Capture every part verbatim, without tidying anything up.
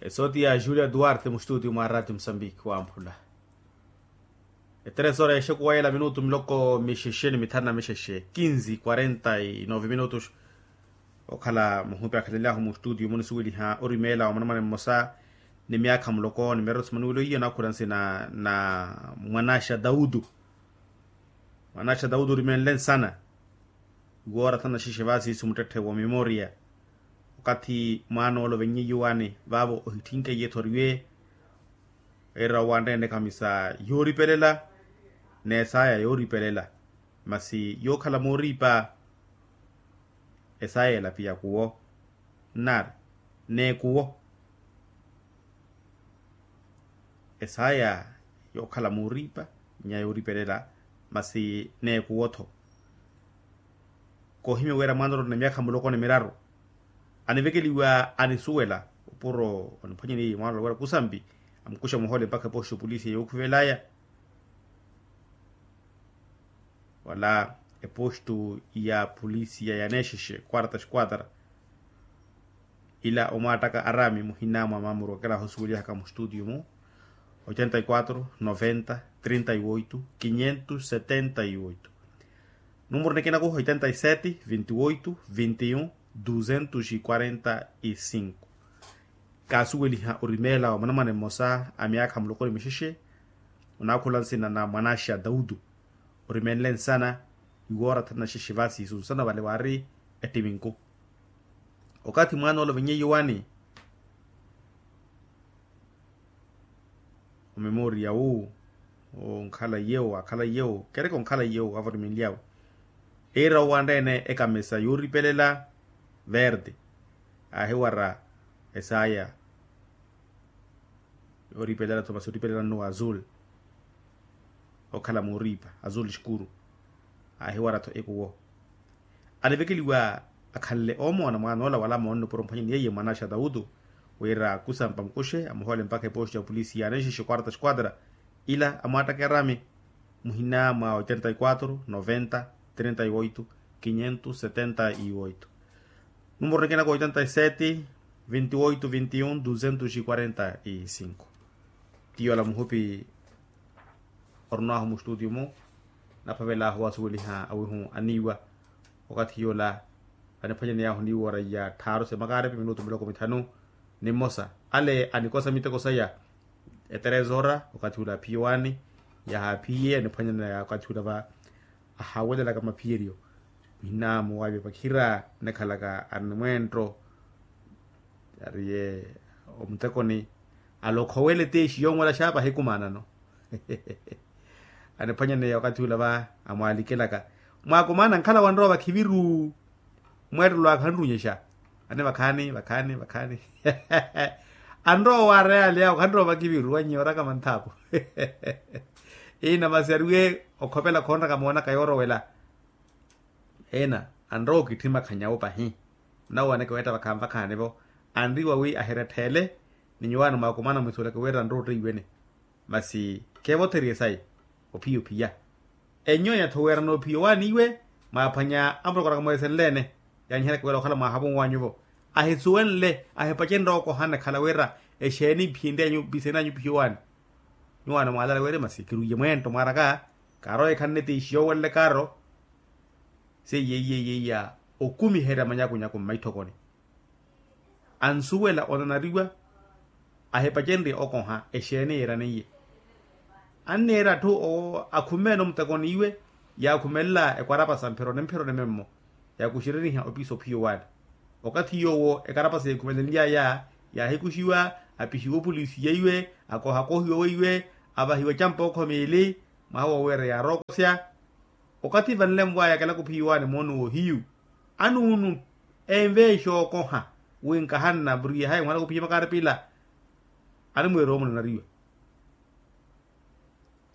Esooti ya julia duarte mustutio mwa ratio musambiki wamphula. Eteresora ya exekuwa yela minutu miloko mixexe ni mithanu na mixexe kinzi quarenta y nove minutu. Okhala muhupi akhalelyahu mustutio munisuweliha orimeela wa mwanamwane mmosa ni myaakha muloko ni miraru simanuwelo iyo nakhula nsina na mwanaxa daudu. Mwanaxa daudu orimenle nsana. Iwoora thana xexe vasi simuttetthe wa memoria. Okathi mwaana ole ovenyiye iwani vaavo ohitthinkeyi ethoriwe. Eira owanreene ekamisa yooripelela n'esaya yooripelela. Masi yookhala mooriipa esaya elapiya kuwo nnaari n'ekuwo. Esaya yookhala mooriipa nnya yooripelela masi n'ekuwo-tho. Koohimya wira mwaana olottene myaakha muloko ni miraru anivekeliwa anisuwela opuro oniphwanyeniye mwaana olowerya kusambi amukuxa muhoole mpakha epoxi opolisi yookhuvelaaya. Wala epostu ya polisia ya neexexe quarta esquadra. Ila omwaattaka arami muhina mwa mamuru okelaho osuwelihaka mustutio mu oitenta y quatro noventa trinta y oito quinhentos setenta y oito. Numuru nikina ku oitenta y sete vinte y oito vinte y un duzentos y quarenta y cinco. Kaasuweliha orimeela wa mwanamwane mmosa a myaakha muloko ni mixexe onaakhula nsina na mwanaxa daudu. Orimenle nsana iwoora thanu na xexe vasi sunsana vale waari ettiminku. Okathi mwaana ole ovenyiye iwani omemoriya wu onkhala iyewo akhala iyewo kereke onkhala iyewo avorimenly'awe. Eira owanreene ekamisa yooripelela verde aahiwara esaya yooripelela-tho masi oripelela nnuwa azul. Okhala mooriipa azul xikuru aahiwara-tho ekuwo. Anivekeliwa akhanle oomoona mwaana ola wala moonne opuro mphwanyeni yeiye mwanaxa dautu wira kusampa mukuxe amuhoole mpakha epoxi ya opolisi ya neexexe quarta esquadra. Ila amwaattaka erami muhina mwa oitenta y quatro noventa trinta y oito quinhentos setenta y oito. Numuru nikina ku oitenta y sete vinte y oito vinte y un duzentos y quarenta y cinco. Ti yola muhupi orunwahu mustutio mu naphavelaahu wasuweliha awihu aniiwa. Okathi yola aniphwanyaney'ahu niiwa oraiya tthaaru semakarepe minutu miloko mithanu ni mmosa. Ale anikosa miteko saya eterezora okathi ula aphiye owaani yahaaphiye aniphwanyaneya okathi ula va ahawelelaka maphiyeryo. Muhina muwaive pakhira anekhalaka arimwentto ariye omutekoni alokhowele teexi yonwela xaapa ahikumaanano. Aniphwanyaneya okathi ula va amwaalikelaka mwaakumaana nkhala wanrowa vakhiviru. Mweettelo akhanrunyexa ane vakhaani vakhaani vakhaani anrowa waareyaleya okhanrowa vakiviru wanyiya orakama nthaapu. Ina masi ariwe okhopela khonraka moonaka yoorowela. Ena anrowa okitthi makhanyawo pahi. Nawo aneke weetta vakhaani vakhaanivo anriwa wi ahiretthe-ele ni nyuwaani mwaakumana mwisuleke wira anrowa otteiwene. Masi keevotherye sayi ophiya ophiya. Enyo ya-tho weerana ophiya owaani iwe mwaaphwanya amurokora kamweesenle-ene. Yaanyiheryaka wira okhala mwaahavu nwanyuvo ahisuwenle ahipacenrye okohana ekhala wira exeeni iphiyenryanyu mpisenanyu ophiya owaani. Nyuwaani mwaalala wira masi kirwiye mweento mwaaraka kaarowa ekhanne tiixi yoowenle kaaro. Seiye iye iye iya okumiherya manyakunyaku mmaitthokoni ansuwela onanariwa ahipacenrye okoha exeeni yeeraneiye. Anniira atthu akhumeene omutekoni iwe yaakhumelela ekwarapasa mphironi mphironi memmo yaakuxereriha opiisa ophiya owaani. Okathi yoowo ekarapasa yeekhumelenly'aya yaahikuxiwa apixiwa opolisi yeiwe akohakohiwa weiwe avahiwa ecampa ookho miili mwaha woweera yaarookosya. Okathi vanle nvwaya kelaka ophiya owaani moono woohiyu anuunu enveexa okoha wi nkahanna vuriye hayi mwalaka ophiya makaari pila animweera omunanariwa.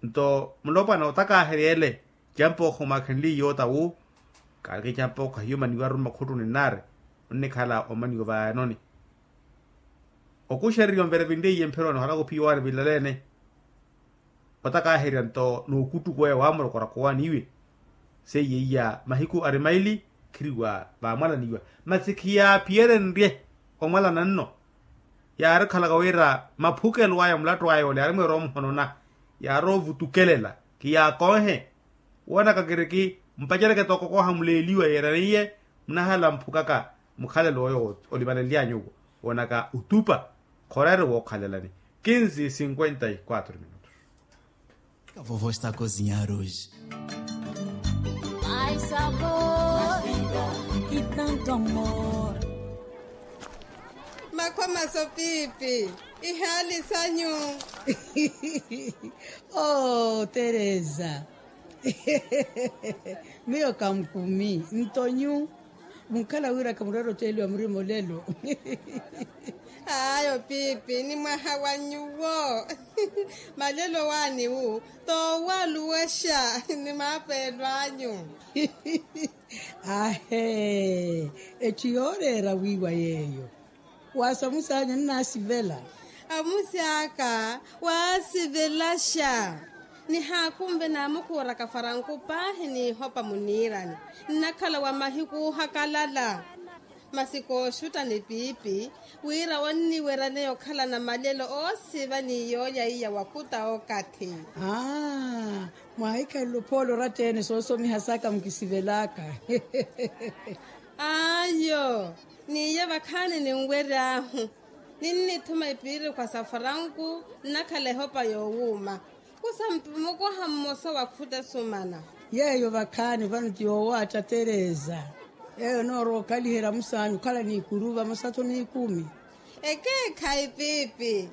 Nto mulopwana otakaaheryele icampa ookho mwaakhenliye yoota wu kaaleke icampa ookho ahiyo omaniwa arumme akhuttuni nnaari onnikhala omaniwa vayanoni. Okuxererya onvere vinreiye mphironi ohalaka ophiya owaani vilaleene. Otakaaherya nto n'ukuttuku aya waamurokoraka owaani iwe seiye iya mahiku ari maili khiriwa vaamwalaniwa masi khiyaaphiyeryenrye omwalana nno. Yaari okhalaka wira maphukelo aya mulattu aya ole yaari mweera omuhonona, yaari ovutukelela. Kiyaakonhe woonaka kiriki mpacereke tooko kooha muleeliwa yeeraniye. Munahala mphukaka mukhalelo oyo olivanelyaanyuwo woonaka utupa. Khoreere wookhalelani kinsi cinquenta y quatro minutos. Ka vovo esta kozinyaruji. Ai sabor e tanto amor. Makhwamaso pipi, ihaali sanyu. Oh teresa, miyo kamukumi ntonyu. Munkhala wira khamurera otteliwa murima olelo. Ayo pipi ni mwaha wa nyuwo. Malelo waani wu toowaluwexa ni maapeelo anyu. Ahe, etthu yooreera wiiwa yeeyo. Waasa musaanyu nnaasivela. Amusi aka waasivelaxa. Nihaakunve naamukuuraka faranku paahi n'ihopa muniirani. Nnakhala wa mahiku oohakalala. Masi kooxutta ni piipi wira onniweryaneya okhalana malelo oosiva ni yoolya iya wakhuta okathi. Aa, mwaahikhalele ophoole oratta-ene soosomiha saka mukisivelaka. Ayo, n'iya vakhaani ninwery'ahu. Ninnithuma epiirikhwa sa faranku nnakhala ehopa yoowuuma. Kusa mpi mukoha mmosa wa khuta esumana. Yeeyo vakhaani vano ti yoowaatta teresa. Yeeyo enoorowa okhaliherya musaanyu okhala n'ikuru vamosa-tho n'ikumi. Ekeekhayi piipi.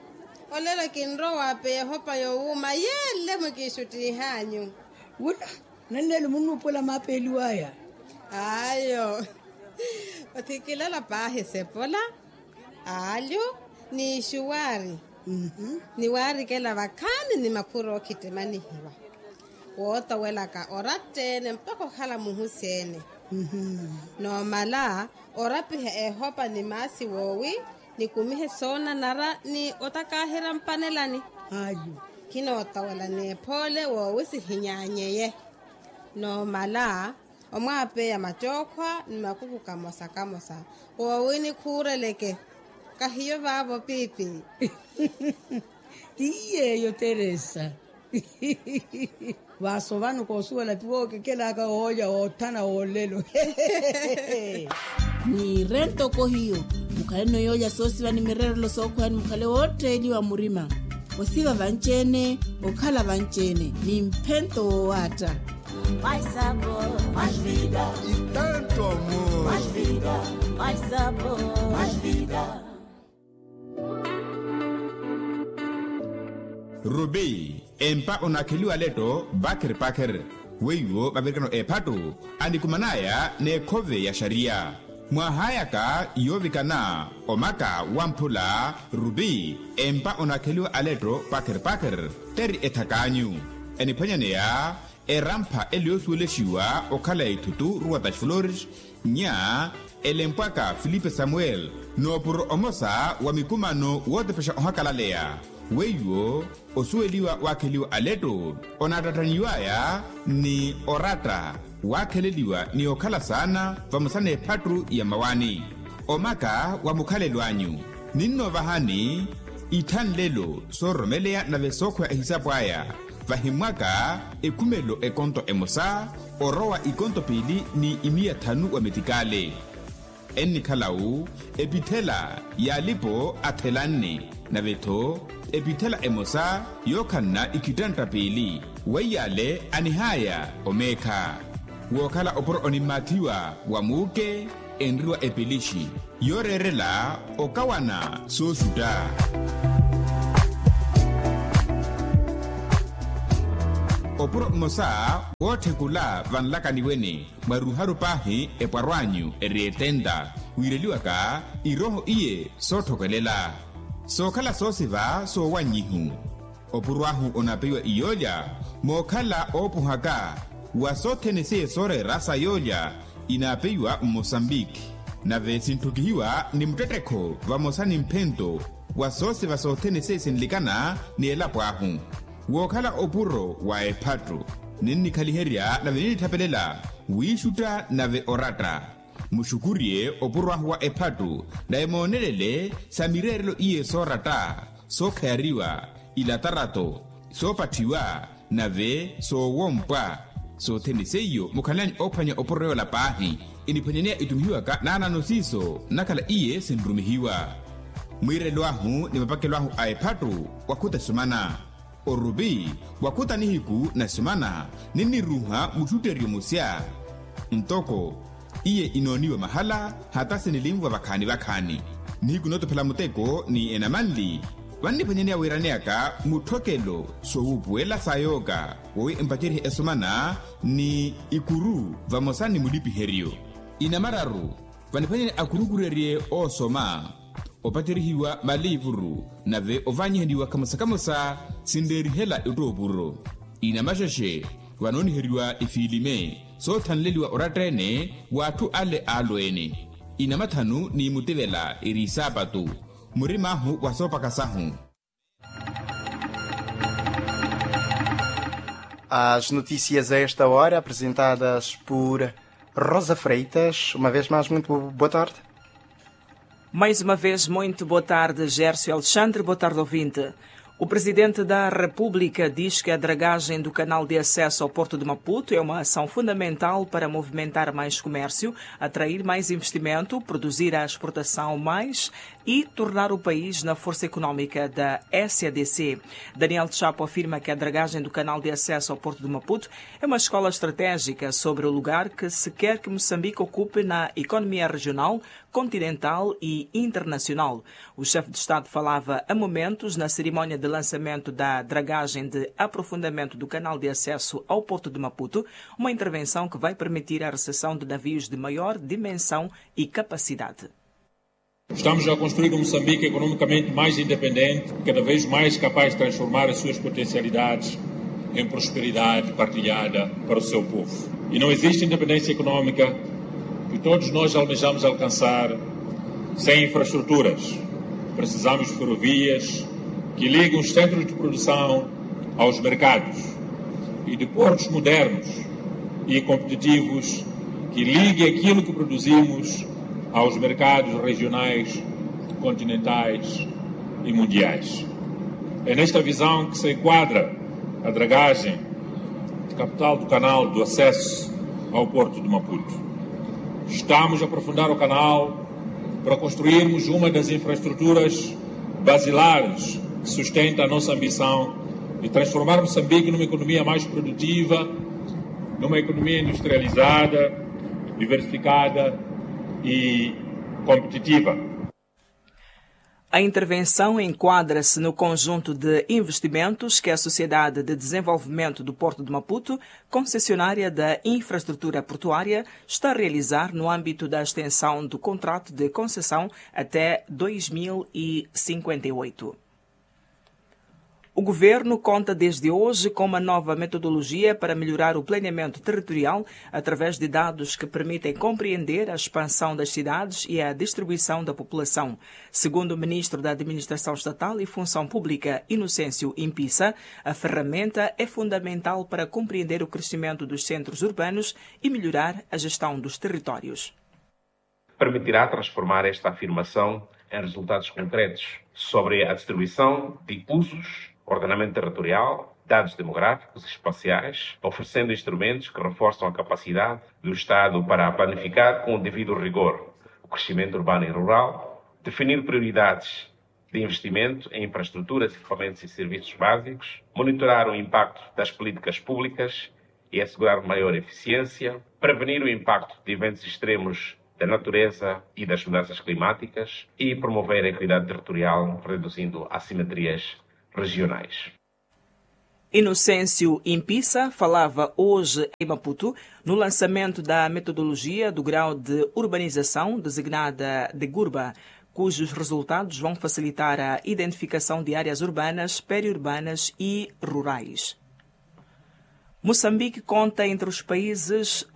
Olelo kinrowa waapeya ehopa yoowuuma yeele mukiixuttiih'anyu. Wula, nanneelo munnuupuwela maapeeliw'aya. Ayo. Othikilala paahi esepola, aalyu, n'ixuwaari. Ni waarikela vakhaani ni makhuru ookhittimanihiwa. Wootowelaka oratta-ene mpakha okhala muhusi-ene. Noomala orapiha ehopa ni maasi woowi, nikumihe soonanara ni otakaaherya mpanelani. Khinootowela n'ephoole woowi sihinyaanyeye. Noomala omwaapeya mattookhwa ni makuku kamosa kamosa. Woowi nikhuureleke. Kahiyo vaavo piipi. Ti yeeyo teresa. Vaaso vano koosuwela ti wookekelaka woolya woothana woolelo. Niire ntoko hiyo. Mukhaleno yoolya soosiva ni mireerelo sookhweya ni mukhale wootteeliwa murima. Osiva vanci-ene, okhala vanci-ene ni mphento woowaatta. Mai sabor, mai vida. E tanto amor. Mai vida, mai sabor, mai vida. Rubi, empa onaakheliwa letto pakher pakher. Weiwo vavirikano ephattu anikuman'aya n'ekhove ya xariya. Mwaahayaka yoovikana omaka wamphula rubi empa onaakheliwa aletto pakher pakher. Teri ethak'anyu eniphwanyaneya erampha ele yoosuwelexiwa okhala ya ithutu ruwa das flores. Nya elempwaka filipe samuel n'opuro omosa wa mikumano wootepexa ohakalaleya. Weiwo osuweliwa waakheliwa aletto onaattattaniw'aya ni oratta waakheleliwa ni okhala saana vamosa n'ephattu ya mawani. Omaka wa mukhalelo anyu ninnoovahani ithanlelo soororomeleya nave sookhweya ehisapo aya. Vahimmwaka ekhumelo ekonto emosa orowa ikonto piili ni imiya thanu wa metikale. Ennikhala-u epithela y'alipo athelanne nave-tho epithela emosa yookhanna ikhittantta piili. Weiy'ale anihaya omeekha wookhala opuro onimmaathiwa wa muuke enriwa epelixi yooreerela okawana sooxutta. Opuro mmosa wootthekula vanlakani wene mwaruharu paahi epwarw'anyu eri etenta wiireliwaka irooho iye sootthokelela sookhala soosiva soowannyihu. Opuro ahu onaapeiwa iyoolya mookhala oopuhaka wa sothene seiye sooreera sa yoolya inaapeiwa mmosambiki. Nave sintthukihiwa ni muttettekho vamosa ni mphento wa soosiva sothene seiye sinlikana ni elapo ahu wookhala opuro wa ephattu. Ninnikhaliherya nave ninnithapelela wiixutta nave oratta. Muxukurye opuro ahu wa ephattu, naye moonelele sa mireerelo iye sooratta, sookhayariwa, ilatarato, soopatthiwa, nave soowompwa. Sothene seiyo mukhalanyu oophwanya opuro yoola paahi. Iniphwanyaneya itumihiwaka naanano siiso nnakhala iye sinrumihiwa. Mwiirelo ahu ni mapakelo ahu a ephattu, wakhuta esumana. Orupi, wakhuta nihiku na esumana, ninniruuha muttutteryo musya. Ntoko iye inooniwa mahala, hata sinilinvwa vakhaani vakhaani. Nihiku nootophela muteko ni enamanli, vanniphwanyaneya wiiraneyaka mutthokelo soowuupuwela sa yooka, wowi empacerye esumana ni ikuru vamosa ni mulipiheryo. Inamararu, vaniphwanyane akurukurerye oosoma, opaterihiwa maliivuru, nave ovaanyihaniwa kamosa kamosa sinreerihela ettoopuro. Inamaxexe, vanooniheriwa ifiilime soothanleliwa oratta-ene w'atthu ale aalweene. Inamathanu ni mutivela eri isaapatu, murim'ahu wa soopaka sahu. As notícias a esta hora apresentadas por Rosa Freitas. Uma vez mais, muito boa tarde. Mais uma vez, muito boa tarde, Gércio Alexandre. Boa tarde, ouvinte. O Presidente da República diz que a dragagem do canal de acesso ao Porto de Maputo é uma ação fundamental para movimentar mais comércio, atrair mais investimento, produzir a exportação mais e tornar o país na força económica da S A D C. Daniel Chapo afirma que a dragagem do canal de acesso ao Porto de Maputo é uma escola estratégica sobre o lugar que se quer que Moçambique ocupe na economia regional, continental e internacional. O chefe de Estado falava a momentos na cerimónia de lançamento da dragagem de aprofundamento do canal de acesso ao Porto de Maputo, uma intervenção que vai permitir a recepção de navios de maior dimensão e capacidade. Estamos a construir um Moçambique economicamente mais independente, cada vez mais capaz de transformar as suas potencialidades em prosperidade partilhada para o seu povo. E não existe independência económica que todos nós almejamos alcançar sem infraestruturas. Precisamos de ferrovias que liguem os centros de produção aos mercados e de portos modernos e competitivos que liguem aquilo que produzimos aos mercados regionais, continentais e mundiais. É nesta visão que se enquadra a dragagem de capital do canal do acesso ao Porto de Maputo. Estamos a aprofundar o canal para construirmos uma das infraestruturas basilares que sustenta a nossa ambição de transformar Moçambique numa economia mais produtiva, numa economia industrializada, diversificada e competitiva. A intervenção enquadra-se no conjunto de investimentos que a Sociedade de Desenvolvimento do Porto de Maputo, concessionária da infraestrutura portuária, está a realizar no âmbito da extensão do contrato de concessão até dois mil e cinquenta e oito. O governo conta desde hoje com uma nova metodologia para melhorar o planeamento territorial através de dados que permitem compreender a expansão das cidades e a distribuição da população. Segundo o ministro da Administração Estatal e Função Pública, Inocêncio Impisa, a ferramenta é fundamental para compreender o crescimento dos centros urbanos e melhorar a gestão dos territórios. Permitirá transformar esta afirmação em resultados concretos sobre a distribuição de usos, ordenamento territorial, dados demográficos e espaciais, oferecendo instrumentos que reforçam a capacidade do Estado para planificar com o devido rigor o crescimento urbano e rural, definir prioridades de investimento em infraestruturas, equipamentos e serviços básicos, monitorar o impacto das políticas públicas e assegurar maior eficiência, prevenir o impacto de eventos extremos da natureza e das mudanças climáticas e promover a equidade territorial, reduzindo assimetrias regionais. Inocêncio Impisa falava hoje em Maputo no lançamento da metodologia do grau de urbanização designada de GURBA, cujos resultados vão facilitar a identificação de áreas urbanas, periurbanas e rurais. Moçambique conta entre os países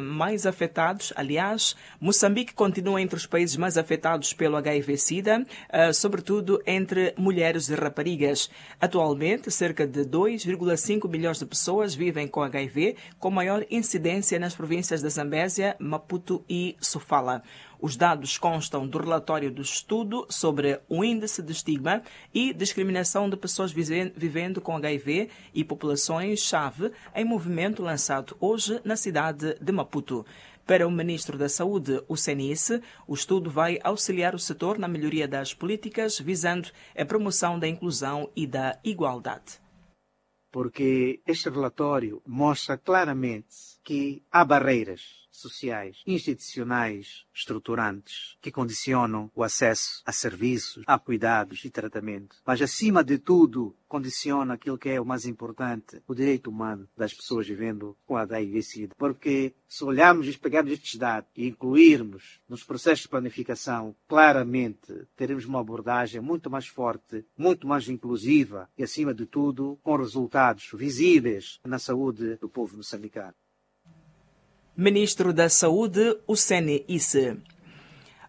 mais afetados. Aliás, Moçambique continua entre os países mais afetados pelo H I V sida, sobretudo entre mulheres e raparigas. Atualmente, cerca de dois vírgula cinco milhões de pessoas vivem com H I V, com maior incidência nas províncias da Zambésia, Maputo e Sofala. Os dados constam do relatório do estudo sobre o índice de estigma e discriminação de pessoas vivendo com H I V e populações chave em movimento lançado hoje na cidade de Maputo. Para o ministro da Saúde, Hussein Isse, o estudo vai auxiliar o setor na melhoria das políticas visando a promoção da inclusão e da igualdade. Porque este relatório mostra claramente que há barreiras sociais, institucionais, estruturantes, que condicionam o acesso a serviços, a cuidados e tratamentos. Mas, acima de tudo, condiciona aquilo que é o mais importante, o direito humano das pessoas vivendo com H I V sida. Porque se olharmos e pegarmos estes dados e incluirmos nos processos de planificação, claramente teremos uma abordagem muito mais forte, muito mais inclusiva e, acima de tudo, com resultados visíveis na saúde do povo moçambicano. Ministro da Saúde, Hussein Isse.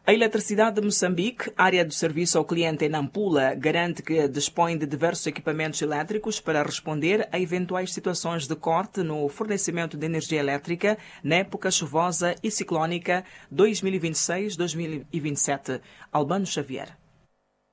A Eletricidade de Moçambique, área de serviço ao cliente em Nampula, garante que dispõe de diversos equipamentos elétricos para responder a eventuais situações de corte no fornecimento de energia elétrica na época chuvosa e ciclónica dois mil e vinte e seis, dois mil e vinte e sete. Albano Xavier.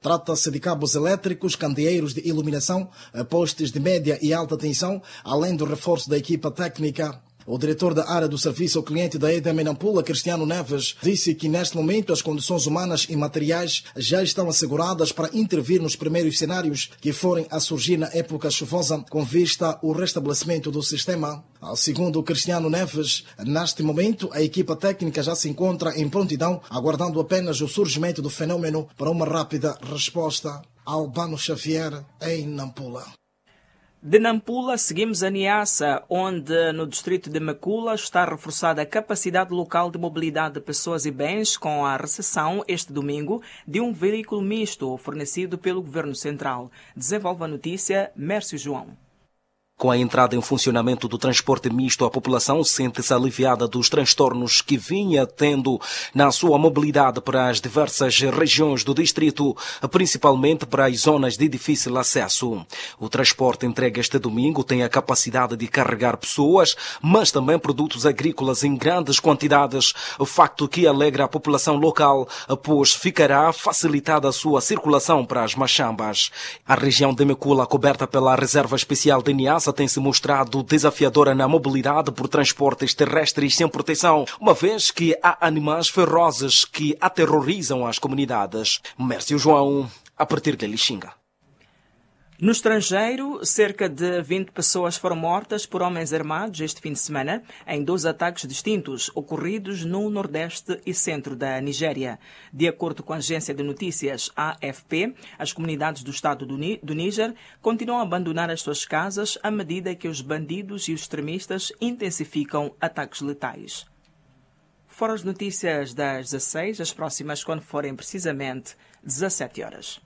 Trata-se de cabos elétricos, candeeiros de iluminação, postes de média e alta tensão, além do reforço da equipa técnica. O diretor da área do serviço ao cliente da EDM em Nampula, Cristiano Neves, disse que neste momento as condições humanas e materiais já estão asseguradas para intervir nos primeiros cenários que forem a surgir na época chuvosa, com vista ao restabelecimento do sistema. Segundo Cristiano Neves, neste momento a equipa técnica já se encontra em prontidão, aguardando apenas o surgimento do fenômeno para uma rápida resposta. Albano Xavier, em Nampula. De Nampula, seguimos a Niassa, onde, no distrito de Mekula, está reforçada a capacidade local de mobilidade de pessoas e bens, com a recepção, este domingo, de um veículo misto fornecido pelo Governo Central. Desenvolve a notícia, Mércio João. Com a entrada em funcionamento do transporte misto, a população sente-se aliviada dos transtornos que vinha tendo na sua mobilidade para as diversas regiões do distrito, principalmente para as zonas de difícil acesso. O transporte entregue este domingo tem a capacidade de carregar pessoas, mas também produtos agrícolas em grandes quantidades, facto que alegra a população local, pois ficará facilitada a sua circulação para as machambas. A região de Mekula, coberta pela Reserva Especial de Niassa, tem se mostrado desafiadora na mobilidade por transportes terrestres sem proteção, uma vez que há animais ferozes que aterrorizam as comunidades. Mércio João, a partir de Lixinga. No estrangeiro, cerca de vinte pessoas foram mortas por homens armados este fim de semana, em dois ataques distintos ocorridos no nordeste e centro da Nigéria. De acordo com a agência de notícias A F P, as comunidades do estado do Ni-, do Níger continuam a abandonar as suas casas à medida que os bandidos e os extremistas intensificam ataques letais. Foram as notícias das dezasseis, as próximas quando forem precisamente dezassete horas.